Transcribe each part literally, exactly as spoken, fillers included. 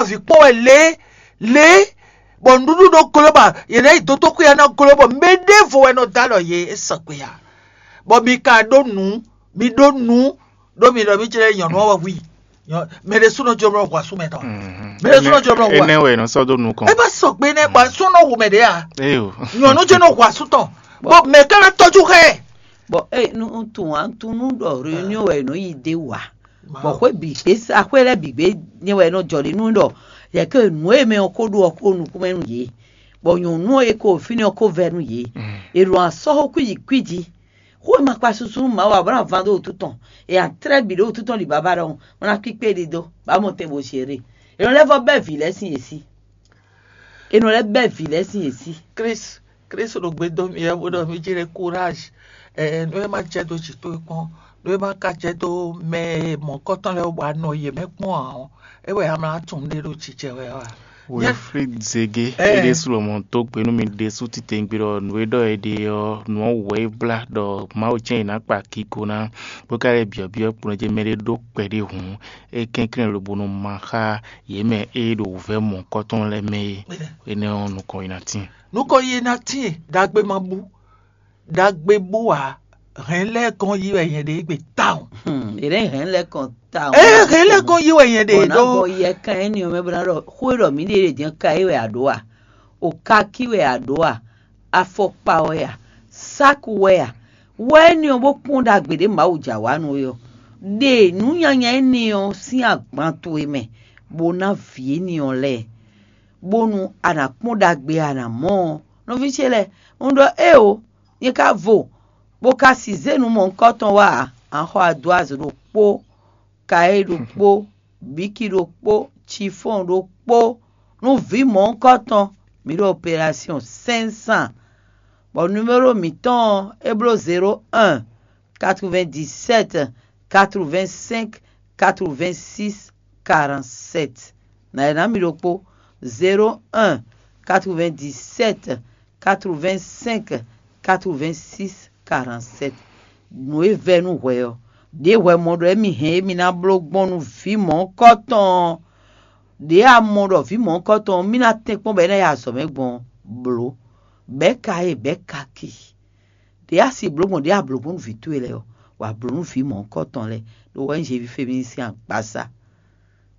vǐ kpɔ́n wɛ lě lě, bɔ nǔɖuɖu nɔ gló bɔ yě ná yi dó tóxwé ná gló bɔ mɛ ɖěvo wɛ nɔ dó alɔ yě, é sɔgbe ǎ. Bɔ mi ka ɖó nǔ, mi ɖó nǔ ɖó mi ɖɔ mí jlɛ́ nyɔ̌nu ɔ́ wɛ hu i. Mɛ ɖésúnɔ jló mɔ hu asú mɛ tɔn. Mɛ ɖésúnɔ jló mɔ hu a. Énɛ́ wɛ è nɔ sɔ́ dó nukɔn. É bá sɔgbe nɛ́ bɔ asú nɔ hu mɛ ɖě a. Éyo. Nyɔ̌nu jló nɔ hu asú tɔn. Bɔ mɛ ka ná tɔ́jú xá ɛ. Bɔ ée nu un tunwun ǎ, un tunwun nú ɖɔ réunion wɛ è nɔ yi d'é wú ǎ. Bɔ xwé bǐ gbé sa xwé lɛ́ɛ bǐ gbé nyɛ wɛ è nɔ jɔ ɖe nú ɖɔ yɛ̌ ke nǔ e mɛ ɔ́ ko ɖó ɔ́ ko nukúnmɛ nú yě, bɔ nyɔ̌nu e ko fínɛ́ ɔ́ ko vɛ́ nú yě. È ɖo asɔ́ xó kwíji kwíji. Xó e ma kpa susu nú Mawu ǎ bó ná van dó wútu tɔn, è nǎ tlɛ́ bǐ ɖó wútu tɔn ɖi baba ɖɔhun, bó ná kpíkpé ɖidó, bó ná mɔ tɛn bó zé ɖe. È nɔ lɛ́ vɔ́ bɛ́ vǐ lɛ́ɛ sín yě sí. È nɔ lɛ́ bɛ́ vǐ lɛ́ɛ sín yě sí. Krisu, Krisu ɖo gbe dó mì wɛ bó ɖɔ mí jí ɖe kúráj. Ɛ, nú é má jɛ dó jǐ towe kpɔ́n, nú é má ka jɛ dó mɛ e mɔ̌kɔtɔn lɛ́ɛ wú bɔ a nɔ yě mɛ kpɔ́n ǎ ɔ́, é wɛ a mlá tunwun ɖé ɖo jijɛ wɛ ɔ́ a? Wilfrid Zege, é ɖésú lɔmɔ̌ dó gbe nú mi ɖésú titewungbe ɖɔ nǔ e ɖɔ è ɖe ɔ́, nǔ ɔ́ wú wɛ é blá ɖɔ Mawu jɛ́n è nǎ kpa kigo ná, bó ka lɛ́ byɔ̌byɔ́ kplɔ́n jɛ mɛ ɖé ɖó kpɛɖé hǔn, é kɛnklɛ́n lobo nɔ ma xá yě mɛ e ɖo wǔvɛ́ mɔ̌kɔtɔn lɛ́ɛ mɛ é. Énɛ́ ɔ́, nukɔn yi ná tíin. Nukɔn yi ná tíin, ɖagbe ma bú, ɖagbe bú ǎ. Hɛn lɛ́ɛ gɔ́n yí wɛ nyɛ ɖe égbé tawun. Hmm, è nɛ́ hɛn lɛ́ kɔn tawun. Ɛ hɛn lɛ́ɛ gɔ́n yí wɛ nyɛ ɖe ɖó. Bɔ yɛ kan énɛ́ ɔ́ mɛ bó ná ɖɔ xó e ɖɔ mǐ ɖe ɖě jɛ́n ka é wɛ a ɖǒ a? O ka kí wɛ a ɖǒ a? Afɔkpa wɛ a? Sáku wɛ a? Wɛ énɛ́ ɔ́ bó kpɔ́n ɖagbe ɖě Mawu jǎ wa nú é ɔ́. Ɖe nǔ nyanya énɛ́ ɔ́ sín agban towe mɛ, bó ná vǐ énɛ́ ɔ́ lɛ́ɛ, bónú a nǎ kpɔ́n ɖagbe e a nǎ mɔ ɔ́. Nɔví ce lɛ́ɛ, un ɖɔ éeǒ, nyɛ ka vo, bó ka sixú zé nǔ mɔ̌hunkɔtɔn wá ǎ. A xɔ adwǎzo ɖokpó, kaé ɖokpó, bǐki ɖokpó, cifɔ́n ɖokpó, nú vǐ mɔ̌hunkɔtɔn, mǐ ɖo operation cinq cents, bɔ numéro mǐtɔn ɔ́, é bló zéro un, quatre-vingt-dix-sept, quatre-vingt-cinq, quatre-vingt-six, quarante-sept. Nǎ e ná mi ɖokpó: zéro un, quatre-vingt-dix-sept, quatre-vingt-cinq, quatre-vingt-six, quarante-sept. Nǔ e vɛ́ nú hwɛ ɔ́, ɖě hwɛ mɔ ɖɔ émí hɛn émí ná bló gbɔn nú vǐ mɔ̌hunkɔtɔn ɔ́, ɖě a mɔ ɖɔ vǐ mɔ̌hunkɔtɔn ɔ́, mí ná tɛ́nkpɔ́n bɔ é ná yi azɔ̌ mɛ gbɔn ɔ́, blǒ. Bɛ̌ ka e bɛ̌ ka ki. Ɖě a si blǒ gbɔn ɖě a blǒ gbɔn nú vǐ towe lɛ́ɛ ɔ́, wǎ blǒ nú vǐ mɔ̌hunkɔtɔn lɛ́ɛ, ɖó wɛ nyí Zevífemi sín agbaza.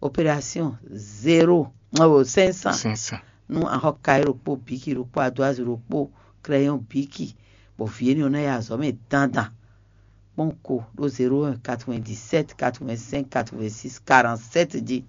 Opération zéro, ɔ, cinq cents. Cinq cents. Nú axɔ́ kayi ɖokpó, bǐki ɖokpó, adwázu ɖokpó, krɛyɔn bǐki, bɔ vǐ énɛ́ ɔ́ ná yi azɔ̌ mɛ dandan. Kpɔ́n ko ɖó zéro un, quatre-vingt-dix-sept, quatre-vingt-cinq, quatre-vingt-six, quarante-sept jí.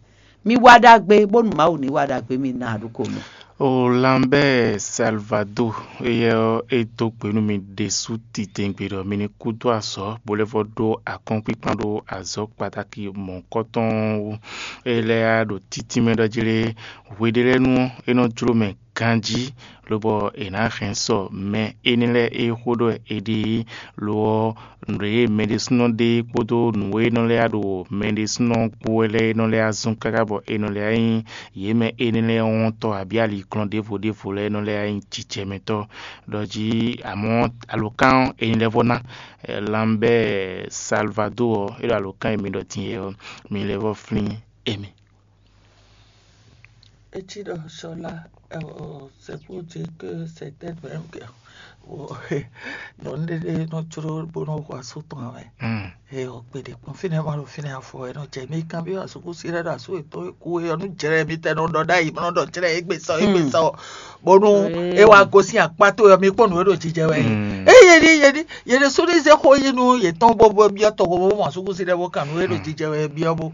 Mi wa ɖagbe, bónú Mawu ní wa ɖagbe mi ná ɖu ko mɛ. O Lambert Salvador, éyɛ́ ɔ́, é dó gbe nú mi ɖésú titewungbe ɖɔ mi ní kú dó azɔ̌, bó lɛ́ vɔ́ ɖó akɔ́nkpinkpan ɖó azɔ̌ kpatáki mɔ̌hunkɔtɔn ɔ́ wú. É lɛ́ ɖo títínmɛ ɖɔ jlé hweɖélɛ́nu ɔ́, é nɔ jló mɛ ganjí, lobɔ è nǎ hɛn sɔ mɛ énɛ́ lɛ́ɛ e xó ɖɔ è ɖe é. Lo ɔ́, nǔ e mɛ ɖésúnɔ ɖe kpódó nǔ e nɔ lɛ́ ɖo mɛ ɖésúnɔ kpó wɛ lɛ́ɛ e nɔ lɛ́ zɔ́n káká bɔ è nɔ lɛ́ nyí yě mɛ énɛ́ lɛ́ɛ wɔntɔ́ abǐ aliklɔn ɖěvo ɖěvo lɛ́ɛ nɔ lɛ́ nyí jijɛmɛtɔ́. Ɖɔ jí amɔ̌ alǒkan ɔ́, è nyi lɛ́ vɔ́ ná. Lambert Salvador ɔ́, é ɖo alǒkan e mi ɖɔ din é ɔ́, mi lɛ́ vɔ́ flín émí. Eci ɖɔ sɔla, c'est pour dire que c'est peut-être même que nɔ ɖeɖe nɔ jló bó nɔ hu asú tɔn ame. Eye ɔgbɛ ɖe kpɔn fínɛ́ ma ɖo fínɛ́ afɔ ɛ nɔ jɛ mi kan bí asúkúsi lɛ ɖo asú etɔn e kú e ɔnu jlɛ mi tɛ nɔ ɖɔ ɖ'ayi mɔ nɔ ɖɔ jlɛ egbe sɔ egbe sɔ bónú e wa gosin akpá tó yɔ mi kpɔn nǔ e ɖo jijɛ wɛ. Eye ɖi ye ɖi ye ɖe sóɖi zɛ xó yi nú yetɔn bó bó biɔ tɔgbo bó mɔ asúkúsi lɛ bó kan nǔ e ɖo jijɛ wɛ biɔ bó.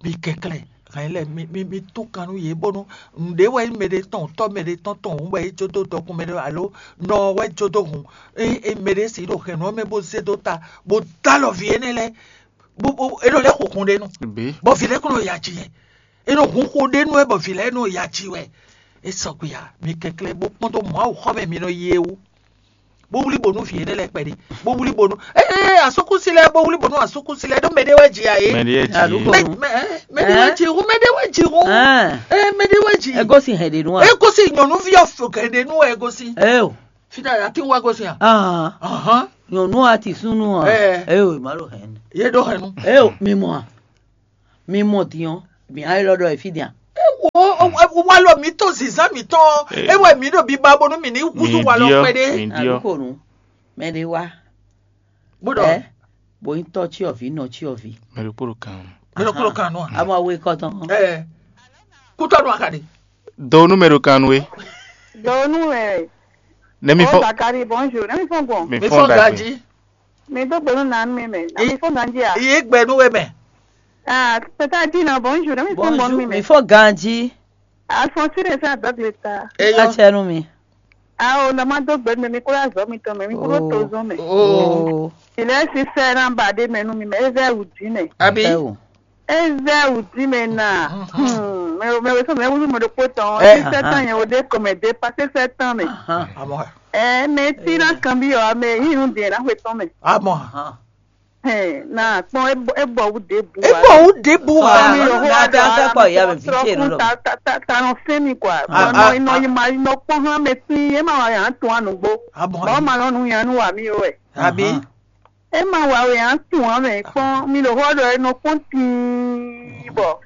Mi kɛnklɛ́n hɛn lɛ́ɛ mi mi mi tún kan nú yě bónú nǔɖé wɛ nyí mɛɖé tɔn tɔ́ mɛɖé tɔn tɔn hǔn wɛ é jó dó dɔkun mɛɖé alo nɔ ɔ́ wɛ jó dó hun é é mɛɖé si ɖo hɛ̌nnu ɔ́ mɛ bó zé dó ta bó dó alɔ vǐ énɛ́ lɛ́ɛ bó bó é nɔ lɛ́ xo hun ɖé nu bɔ vǐ lɛ́ɛ kún nɔ yi aji yɛ é nɔ hun xo ɖé nu wɛ bɔ vǐ lɛ́ɛ nɔ yi aji wɛ. É sɔgbe ǎ, mi kɛnklɛ́n bó kpɔ́n dó Mawu xɔ mɛ mi nɔ yi é wú. Bó wlí bǒ nú vǐ énɛ́ lɛ́ɛ kpɛɖé, bó wlí bǒ nú ee asúkúsi lɛ́ɛ, bó wlí bǒ nú asúkúsi lɛ́ɛ ɖó mɛɖé wɛ ji ǎ é. Mɛɖé wɛ ji. Mɛ- mɛ- ɛ, mɛɖé wɛ ji hú, mɛɖé wɛ ji hú. Ee, mɛɖé wɛ ji. Ego si hɛn ɖe nu wa. Ego si nyɔ̌nuví ɔ́ fo hɛn ɖe nú wɛ ego si. Eo. Fita ya kí wá gosin a. Ahan. Ahan. Nyɔnu ati sunu a. Ɛ. Eo ma ɖo hɛn. Ye ɖo hɛn nu. Eo mi mɔ a. Mi mɔ diɔ. Mi ayi lɔ ɖɔ efi dia. Walɔ mǐtɔn zǐnzán mǐtɔn, é wɛ mǐ ɖo biba bónú mǐ ní húzú walɔ kpɛɖé. Adukonu, mɛ ɖé wá. Bó ɖɔ ɛ, bo nyí tɔ́ cyɔvǐ, nɔ cyɔvǐ. Mɛ ɖokpó ɖo kan. Mɛ ɖokpó ɖo kan nɔ. Amɔ awe kɔtɔn. Ɛ, kútɔnú akaɖi. Do nú mɛ ɖo kan nú é. Do nú mɛ. Ne mi fɔ. Zakari, bonjour. Ne mi fɔ gbɔn. Mi fɔ ganji. Mi dó gbe nú nǎ mi mɛ. Nǎ mi fɔ ganji a? Yí gbe nú we mɛ. Ah, c'est-à-dire non, bonjour. Ne mi fɔ gbɔn mi mɛ. Mi fɔ ganji. Alphonsine esa dɔgbe ta. Eyɔ. Atsɛ nú mi. Awo, nɔ ma dó gbe nú mi, mi kúrò azɔ̌ mitɔn mɛ, mi kúrò tozɔn mɛ. Oh. Ilé sísẹ ná ba ɖé mɛ nú mi mɛ, é zɛ wǔ dín mɛ. Abi. Ɛ o. É zɛ wǔ dín mɛ na. Hmm, mɛ mɛ wɛ sɔ mɛ wúlú mɛ ɖokpó tɔn. Ɛ. Sísẹ tán yẹn o ɖé kɔmɛ dé pasé sɛ tán mɛ. Ahan. Amɔ. Ɛ mɛ tí ná kan bí ɔ mɛ yín nu dě ná xwe tɔn mɛ. Amɔ. Ahan. Ɛ na kpɔn é bɔ wú dé bu. E wa. Bɔ wú dé bu wa. Sɔmi lɔ hó wa dé ala mi sɔ sɔkun ta ta ta ta nɔ fɛn mi kwa. Ah, Nɔ ah, nɔ ah. Yi ma yi nɔ kpɔn hã mɛ tí é ma wa yàn tún anugbo. Amɔ. Bɔ ma nɔ nu yàn nu wa mi o wɛ. Abi. Ahan. E ma wa wɛ a tún ǎ mɛ kpɔ́n mi ɖo xó ɔ́ ɖɔ e nɔ kpɔ́n tíin bɔ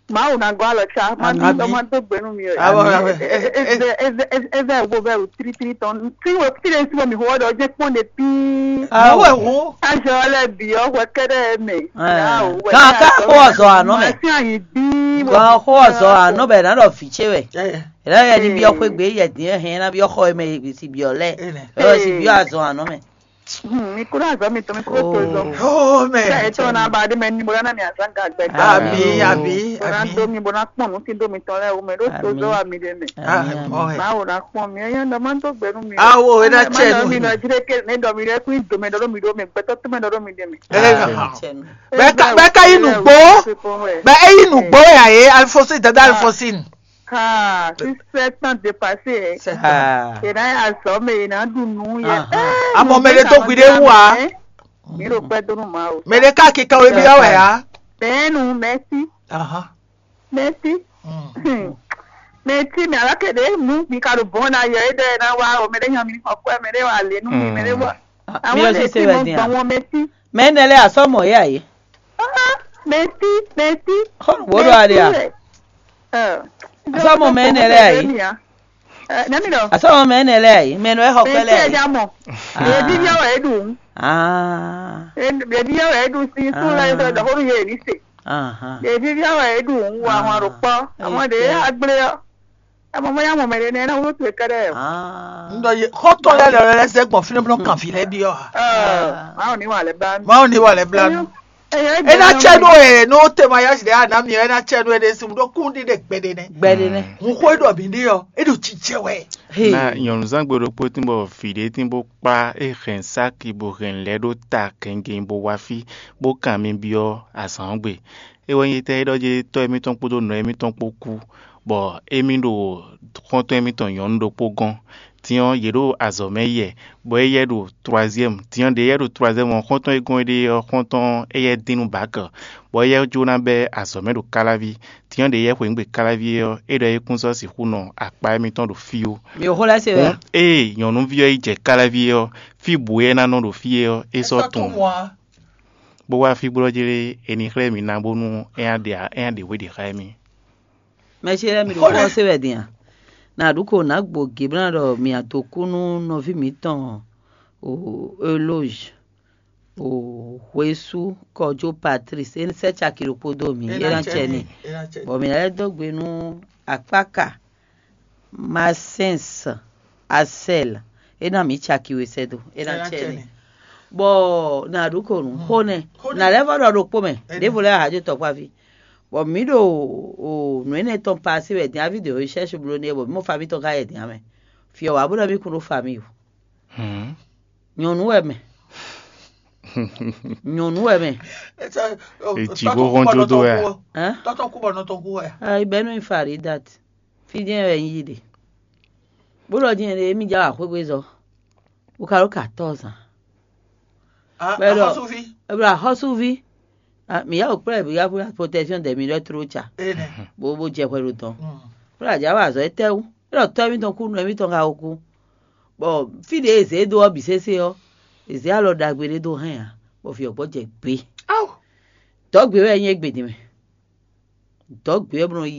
Mawu ná gɔ́ alɔ cá má Amǐn. Dó má dó gbe nú mi o. Amɔ, amɔ. Ezɛ ezɛ ezɛ ezɛ wo bɛ o tiri tiri tɔn tí wo tí ɖe sí bɔ mi xó ɔ́ ɖɔ jẹ́ kpɔ́n ɖe pín. Awo. Awo ɛ hu. Azɔ lɛ bǐ ɔ́ hwɛ kɛɖɛ mɛ. Ɛ. Kan ká xó ɔzɔ anɔ mɛ. Ma sí ayi bí. Kan xó ɔzɔ anɔ bɛ ná ɖɔ vǐ ce wɛ. Ɛ. Ɛ lɛ yɛ ni biɔ xwé gbé yɛ dín hɛn ná biɔ xɔ mɛ si biɔ lɛ. Ɛ. Ɛ si biɔ azɔ anɔ mɛ. Hmm, mi kúrò azɔ mi tɔn mi kúrò tó zɔn. Oh, man. Ṣé ètò ọ̀nà àbàdé mẹ́ni mo lọ́nà mi àzán ga gbẹ̀gbẹ̀? Àbí, àbí, Mo ná àbí. Dó mi mo ná pọ̀n nú kí dó mi tán lẹ́wọ̀ mẹ́ ló tó Àmín. Zọ́ àmì lè mẹ́. Ah, Àmín, oh, àmín. Báwo la pọ̀n mi? Ẹyẹ ń dọ̀ máa ń tó gbẹnu mi. Awo, ẹ dá Má tiẹ̀ dọ̀ nù. Mi lọ jíde ké ní dọ̀ mi lẹ́kún ìdòmẹ́ dọ́dọ̀ mi dó mi gbẹ́tọ́ tó mẹ́ dọ́dọ̀ mi dé mi. Ẹ, Ah, bẹ́ẹ̀ ká, bẹ́ẹ̀ ká yín nù gbó. Bẹ́ẹ̀ ẹ yín nù gbó yà yé, Alphonsine, dada Alphonsine. Kaa, si sept ans dépassé, hein. Sept ans. Ah. Et là, à somme, il a du nous, il y a Ah, ah. Ah, mon, mais le temps qu'il est où, hein? Mi ro pɛ donu ma o. Mais le cas qui quand il y a, ouais, hein? Ben nous, merci. Ah, ah. Merci. Hmm. Merci, mais alors que des nous, mi ka do bon na yo e de na wa o, mais les gens mi ko quoi, mais les wa le nous, mais les wa. Ah, Àwọn mi ò lè ṣe ṣe ti bẹ́ẹ̀ mọ dín gbà à. Wọn mẹtí. Mɛ énɛ́ lɛ́ɛ a sɔ́ mɔ yě a yě? Ah, mẹtí, mẹtí. Xɔ́nù wǒ ɖo ali a? Ɛ. A sɔ́ mɔ mɛ énɛ́ lɛ́ɛ a yě? Nɛmi dɔ. A sɔ́ mɔ mɛ énɛ́ lɛ́ɛ a yě? Mɛ nɔ é xɔ kpɛ́ lɛ́ɛ a yě? Mẹtí ɛ mɔ. Ah. Ɖevi yɔ wɛ ɖu. Ah. Ɖevi yɔ wɛ ɖu si sún lɛ sɔ dɔkɔnu yɛ ní se. Ahan. Ɖevi yɔ wɛ ɖu wà hɔn ɖo kpɔ. Àwọn ɖe agblé ɔ. Ɛ mɔ mɔ ya mɔ mɛ ɖé nɛ na wúlò towe kɛɖɛ o. Ah. Ŋdɔ ye xɔtɔ lɛ lɛ lɛ zɛ gbɔn fínɛ blɔ kan fi lɛ bi ɔ. Ɛ, Mawu ni wà lɛ bla nu. Mawu ni wà lɛ bla nu. Ena tsɛ nu ɛ no te ma ya si ɖe ana mi ena tsɛ nu ɛ ɖe si mu ɖo kún ɖi ɖe gbɛ ɖe nɛ. Gbɛ ɖe nɛ. Hun xó e ɖɔ mi ɖi ɔ, e ɖo tsitsɛ wɛ. Hey. Na nyɔnuzangbe ɖokpó tín bɔ vǐ ɖé tín bó kpá é hɛn sáki bó hɛn lɛ́ ɖó ta gɛngɛn bó wá fí bó kan mi byɔ́ azǎn ɔ́ gbe. É wɛ nyí étɛ́ é ɖɔ jɛ tɔ́ émítɔn kpódó nɔ émítɔn kpó kú, bɔ émí ɖo xɔ́ntɔn émítɔn nyɔ̌nu ɖokpó gɔ́n. Din ɔ́, yě ɖo azɔ̌ mɛ yi wɛ, bɔ éyɛ́ ɖo twaziɛ́mu. Din ɔ́, ɖě éyɛ́ ɖo twaziɛ́mu ɔ́, xɔ́ntɔn e gɔ́n éɖée ɔ́, xɔ́ntɔn éyɛ́ dín nú Bǎkɛ, bɔ éyɛ́ jó ná bɛ́ azɔ̌ mɛ ɖo Káláví. Din ɔ́, ɖě éyɛ́ xweyǐgbe Káláví é ɔ́, é ɖɔ é kún sɔ́ sixú nɔ akpá émítɔn ɖo fí ó. Mi ò xó lɛ́ se wɛ a? Hǔn ée nyɔ̌nuví ɔ́ yi jɛ Káláví é ɔ́, fí bǔ é ná nɔ ɖo fí é ɔ́, é sɔ́ tunwun. Bó wá fí bó ɖɔ jlé é ní xlɛ́ mì ná bónú é ná ɖe é ná ɖe hwe ɖě xá émí. Mɛ ce lɛ́ɛ mi ɖo xó ɔ́ se wɛ din a? Nǎ ɖu ko nǎ gbo Geblán ɖɔ mì a dǒ kú nú nɔví mǐtɔn o Eloge o Hwesú Kɔjó Patrice, é sɛ́ caki ɖokpó dó mì, é ná cɛ n'i. Bɔ mǐ ná lɛ́ dó gbe nú akpáka Maxence Axel, é ná mǐ caki we sɛ́ dó, é ná cɛ n'i. Bɔ nǎ ɖu ko nǔ xó nɛ́, nǎ lɛ́ vɔ ɖɔ ɖokpó mɛ, ɖěvo lɛ́ɛ a jǒ tɔkpáví. Bɔ mǐ ɖo o nǔ énɛ́ tɔn pasé wɛ din aví de recherche bló n'i bɔ mǐ mɔ fa mǐtɔn ka yɛ din amɛ. Fí ɔ́ wǎ bó ɖɔ mí kún ɖó famille o. Nyɔ̌nu wɛ mɛ. Nyɔ̌nu wɛ mɛ. Etsi bó hɔn jó dó wɛ. Tɔtɔ kú bɔ nɔ tɔn kú wɛ. Ayi bɛnu Faridat. Fí jɛ́n wɛ nyí ɖe. Bó ɖɔ din ɖe émí já wà xwégbé zɔ. Bó ka ɖó quatorze ans. Bɛ́ ɖɔ axɔ́súví. Bɛ́ ɖɔ axɔ́súví. Ah, mǐ yá wò kplɔ́n ɛ bǐ yá kplɔ́n protection de mǐ ɖɔ tló ca. Bó bó jɛ hwɛ ɖo dɔn. Bó ɖo ajǎ wa azɔ̌ étɛ́wú? É ɖɔ tɔ́ émítɔn kú, nɔ émítɔn ka ko kú. Bɔ fí ɖě e zě dó ɔ́ bǐ sésé ɔ́, è zě alɔ ɖagbe ɖé dó hɛn ǎ, bɔ vǐ ɔ́ gbɔ jɛ gbě. Dɔ̌ gbě wɛ é nyí égbé din mɛ. Dɔ̌ gbé ɔ́ bó nɔ yi